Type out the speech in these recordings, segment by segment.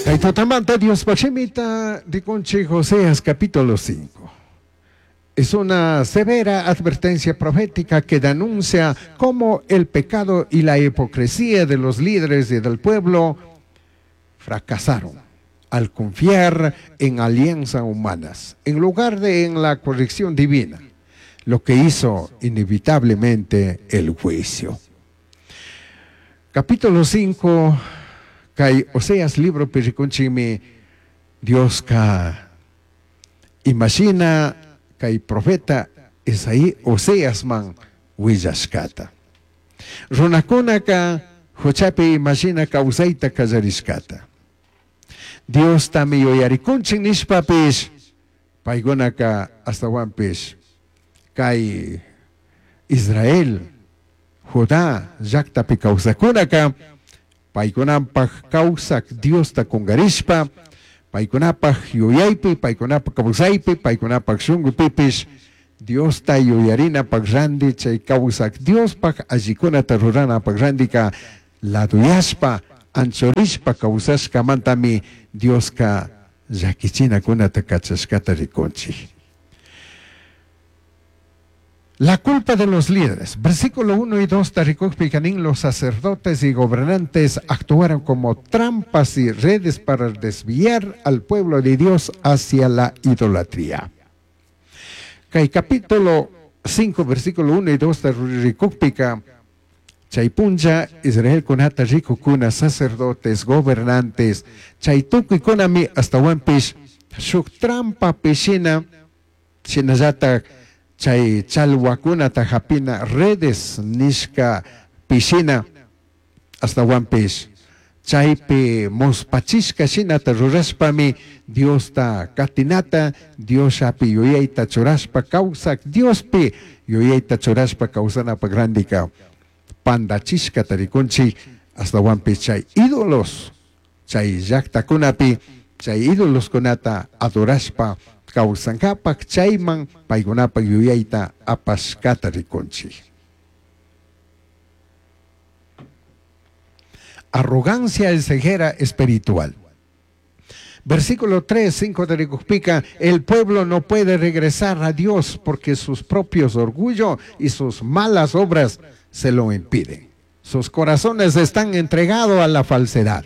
Kay tutamanta Diospaj shimita rikunchik Oseas capítulo 5. Es una severa advertencia profética que denuncia cómo el pecado y la hipocresía de los líderes y del pueblo fracasaron al confiar en alianzas humanas en lugar de en la corrección divina, lo que hizo inevitablemente el juicio. Capítulo 5, kay Oseas libropi rikunchikmi Dioska imashina kay profeta Isaí Oseasman willashkata. Runakunaka huchapi imashina kawsayta kallarishkata. Diostami yuyarikunchik nishpapish paykunaka ashtawanpish kay Israel, Judá llaktapi kawsakunaka paykunapaj kawsak Diosta kungarishpa paykunapaj yuyaypi, paykunapaj kawsaypi, paykunapaj shunkupipish Diosta yuyarinapaj randi chay kawsak Diospaj allikunata ruranapaj randika laduyashpa anchurishpa kawsashkamantami Dioska llakichinakunata kachashkata rikunchik. La culpa de los líderes. Versículo 1 y 2 rikukpika nin, los sacerdotes y gobernantes actuaron como trampas y redes para desviar al pueblo de Dios hacia la idolatría. Kay capítulo 5, versículo 1 y 2 rikukpika, chay punlla Israelkunata rikukuna, sacerdotes, gobernantes, chay tukuykunami ashtawanpish shuk trampa pishina, shinallatak chay chalwakunata hapina redes nishka pishina, ashtawanpish chaypi muspachishka shinata rurashpami Diosta katinata, Diosllapi yuyayta churashpa kawsak, Diospi yuyayta churashpa kawsanapak randika pandachishkata rikunchik, ashtawanpish chay ídolos, chay llaktakunapi, chay ídoloskunata adorashpa kawsankapak chayman paykunapak yuyayta apashkata rikunchik. Arrogancia y ceguera espiritual. Versículo 3, 5 de rikukpika, el pueblo no puede regresar a Dios porque sus propios orgullo y sus malas obras se lo impiden. Sus corazones están entregados a la falsedad.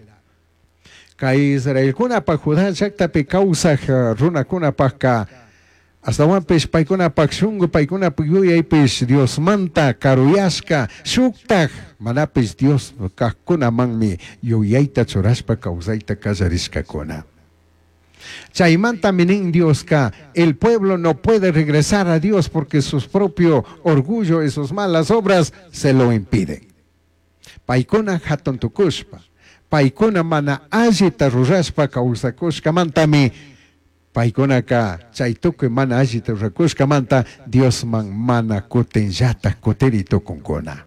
Kay Israelkunapaj Judá llaktapi kawsaj runakunapajka ashtawanpish paykunapaj shunku paykunapaj yuyaypish Diosmanta karuyashka shuktaj manapish Dios kajkunamanmi yuyayta churashpa kawsayta kallarishkakuna. Chaymantami nin Dioska, el pueblo no puede regresar a Dios porque sus propio orgullo y sus malas obras se lo impiden. Paykuna hatun tukushpa, paykuna mana allita rurashpa kawsakushkamantami paykunaka chay tukuy mana allita rurakushkamanta Diosman mana kutinllatak kutiri tukunkuna.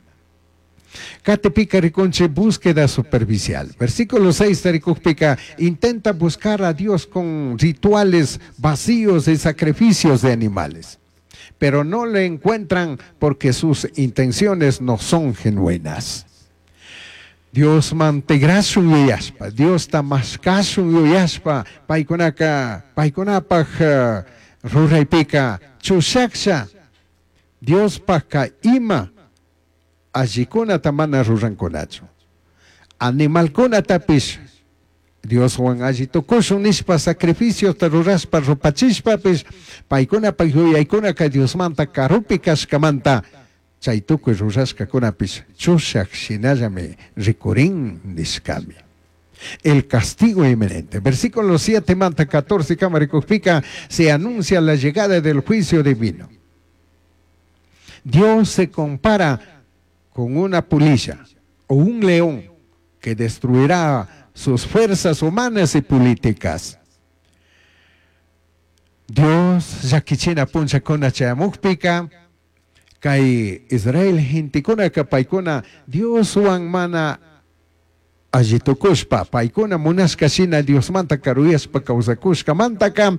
Katipika rikunchik búsqueda superficial. Versículo 6 rikukpika intenta buscar a Dios con rituales vacíos y sacrificios de animales, pero no le encuentran porque sus intenciones no son genuinas. Diosman tigrashun yuyashpa, Diosta mashkashun yuyashpa, paykunaka, paykunapaj ruraypika chushaksha, Diospajka ima allikunata mana rurankunachu. Animalkunatapish Dioswan alli tukushun nishpa sacrificiota rurashpa rupachishpapish paykunapaj yuyaykunaka Diosmanta karupi kashkamanta chay tukuy rurashkakunapish chushak shinallami rikurin nishkami. El castigo inminente. Versículo 7 manta 14 kama rikukpika se anuncia la llegada del juicio divino. Dios se compara con una polilla o un león que destruirá sus fuerzas humanas y políticas. Dios llakichina punllakuna chayamukpika kay Israel gentekunaka paykuna Dioswan mana alli tukushpa paykuna munashka shina Diosmanta karuyashpa kawsakushkamantaka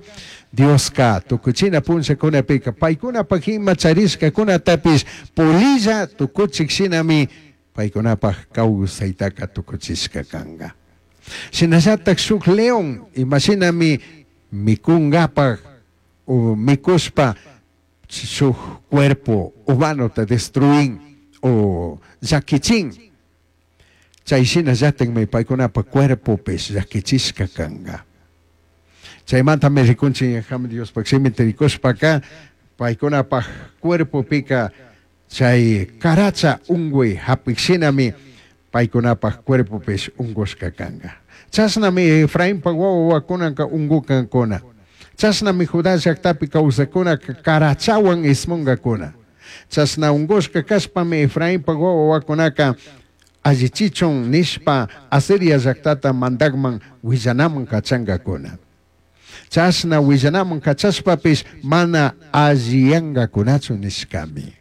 Dioska tukuchina punllakunapika paykunapaj ima charishkakunatapish polilla tukuchik shinami paykunapaj kawsaytaka tukuchishka kanka. Shinallatak shuk león imashinami mikungapak o mikushpa shuk cuerpo humanota destruin o llakichin, chay shinallatakmi paykunapa cuerpopish llakichishka kanka. Chaymantami rikunchik ñajaman Diospaj shimita rikushpaka paykunapaj cuerpopika chay karacha unkuy hapik shinami paykunapaj cuerpopish unkushka kanka. Chashnami Efrainpa wawa wawakunaka unkukankuna. Chashnami Judá llaktapi kawsakkunaka karachawan ismunkakuna. Chashna unkushka kashpami Efrainpa wawa wawakunaka allichichun nishpa Asiria llaktata mandakman willanaman kachankakuna. Chashna willanaman kachashpapish mana alliyankakunachu nishkami.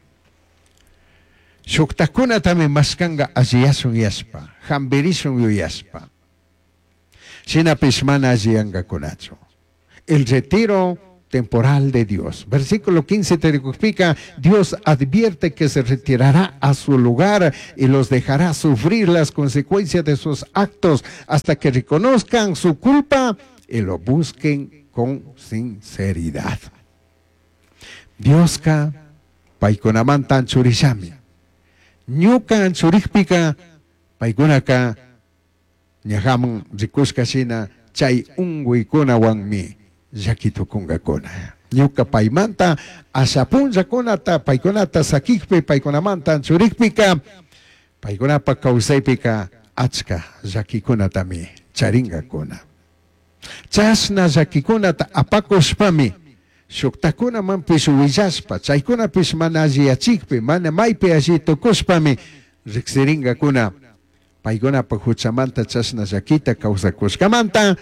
Shuktakunatami mashkanka alliyashun yashpa, hambirishun yuyashpa. Shinapish mana alliyankakunachu. El retiro temporal de Dios. Versículo 15 te explica, Dios advierte que se retirará a su lugar y los dejará sufrir las consecuencias de sus actos hasta que reconozcan su culpa y lo busquen con sinceridad. Dioska paykunamanta anchurishami. Ñuka anchurikpika paykunaka ñajaman rikushka shina chay unkuykunawanmi llaki tukunkakuna. Ñuka paymanta asha punllakunata paykunata sakikpi paykunamanta anchurikpika paykunapa kawsaypika achka llakikunatami charinkakuna. Chashna llakikunata apakushpami shuktakunamanpish willashpa chaykunapish mana alliyachikpi mana maypi alli tukushpami riksirinkakuna paykunapa huchamanta chashna llakita kawsakushkamanta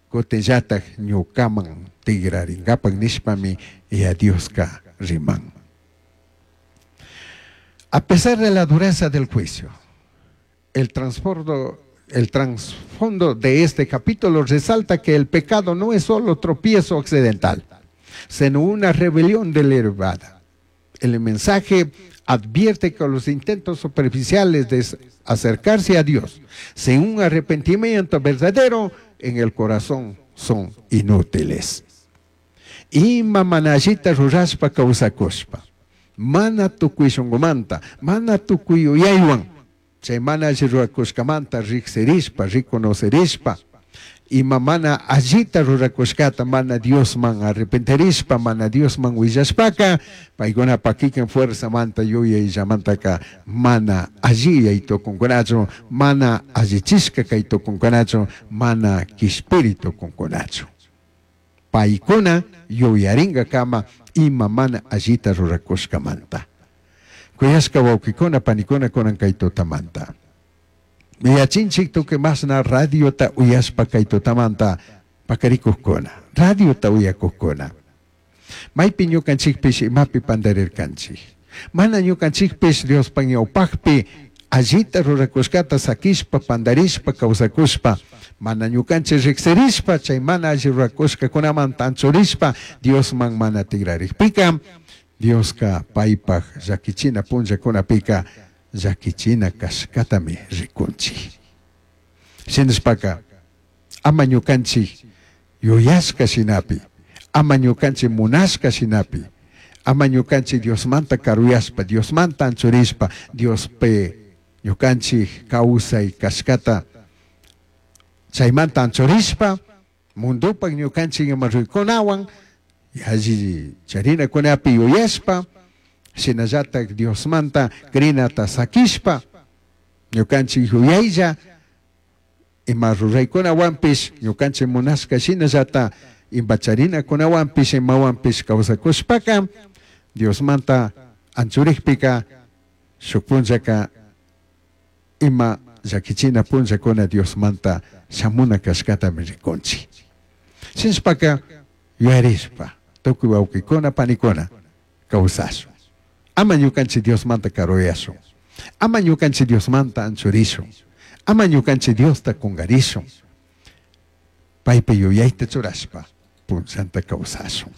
kutinllatak ñukaman tigrarinkapak nishpami ya Dioska riman. A pesar de la dureza del juicio, el trasfondo de este capítulo resalta que el pecado no es solo tropiezo accidental, sino una rebelión deliberada. El mensaje advierte que los intentos superficiales de acercarse a Dios sin un arrepentimiento verdadero en el corazón son inútiles. Ima mana allita rurashpa kawsakushpa, mana tukuy shunqumanta, mana tukuy yuyaywan, chay mana alli rurakushkamanta riksirishpa, reconocerishpa, ima mana allita rurakushkata mana Diosman arrepentirishpa, mana Diosman willashpaka, paykunapa kikin fuerzamanta yuyayllamantaka mana alliyay tukunkunachu, mana allichishka kay tukunkunachu, mana kishpiri tukunkunachu. Paykuna yuyarinkakama ima mana allita rurakushkamanta. Kuyashka wawqikuna panikuna kunan kay tutamanta. Yachinchik tukuy masna radiota uyashpa kay tutamanta pakarikuqkuna, radiota uyakuqkuna. Maypi ñukanchikpish imapi pandarirkanchik. Mana ñukanchikpish Diospa ñawpaqpi allita rurakushkata sakishpa pandarishpa kawsakushpa, mana ñukanchik riksirishpa chay mana alli rurakushkakunamanta anchurishpa Diosman mana tigrarikpika, Dioska paypaq llakichina punllakunapika llakichina kashkatami rikunchik. Shinashpaka ama ñukanchik yuyashka shinapi, ama ñukanchik munashka shinapi, ama ñukanchik Diosmanta karuyashpa, Diosmanta anchurishpa, Diospi ñukanchik kawsay kashkata chaymanta anchurishpa, mundupak ñukanchik ima ruykunawan alli charinakunapi yuyashpa, shinallatak Diosmanta crinata sakishpa, ñukanchik yuyaylla ima ruraykunawanpish ñukanchik munashka shinallata ima charinakunawanpish imawanpish kawsakushpaka Diosmanta anchurikpika shuk punllaka ima llakichina punllakuna Diosmanta shamuna kashkatami rikunchik. Shinashpaka yuyarishpa tukuy wawqikuna panikuna kawsashun. Ama ñukanchik Diosmanta karuyashun. Ama ñukanchik Diosmanta anchurishun. Ama ñukanchik Diosta kungarishun. Paypi yuyayta churashpa punllanta kawsashun.